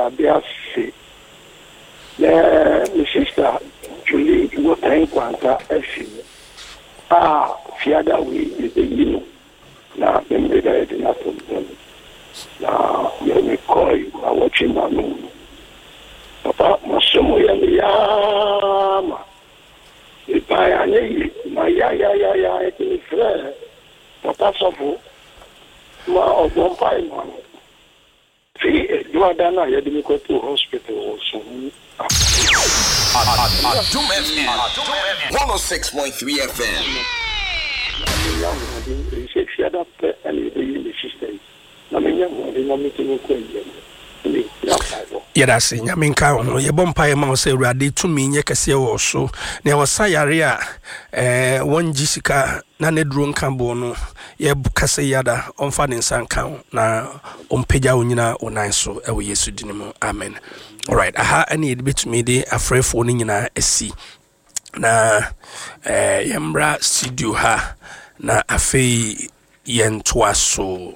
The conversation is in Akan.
Awurade ase. Na me sista Julie Boateng Nkwanta afi mu a fiada wei yɛbɛyi no na Memeneda yɛde no ato mpa mu. Na yɛrekɔe nnawɔtwe mmienu no, papa masom yɛ me yaa ma mebae anyɛ yie mayayayaya nti mefrɛɛ papa sɔfo ma ɔbɔ mpae ma me. Fi Dwoada no a yɛde me kɔtoo hospital wɔ Suhum Adom FM 106.3 FM. Na menya ahoɔden, efisɛ Fiada pɛ na yɛbɛyi me sister yi, na menya ahoɔden na metumi kɔ ayie no, ɛnna ɛhia mpaebɔ. Yɛda ase. Nyame nka wo ho. Yɛbɔ mpaeɛ ma wo sɛ Awurade tumi nyɛ kɛseɛ wɔ wo so. Nea wɔsa yare a eh, wɔngye sika na n'aduro nka boɔ no, yɛka sɛ yada ɔmfa ne nsa nka wo na ɔmpagya wo nyina wo nan so ɛwɔ Yesu din mu. Amen. Alright, aha ɛne yɛde bɛtumi de afrɛfoɔ no nyinaa asi na eh, yɛmmra studio ha na afei yɛntoa so.